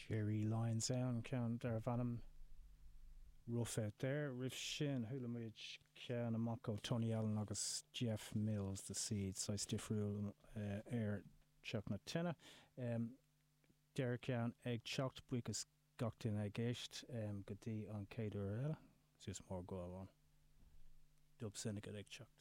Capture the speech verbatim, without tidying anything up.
Jerry Lyons ann ceann darbh ainm Rough Out There. Roimh sin chuala muid ceann amach ó Tony Allen agus Jeff Mills the Seed saghas difriúil uh, ar Teach na Tine. Um, Deireadh ceann ag teacht buíochas gach duine ag éisteacht um, go dtí an chéad uair eile, suas mór go amháin. Dub Syndicate ag teacht.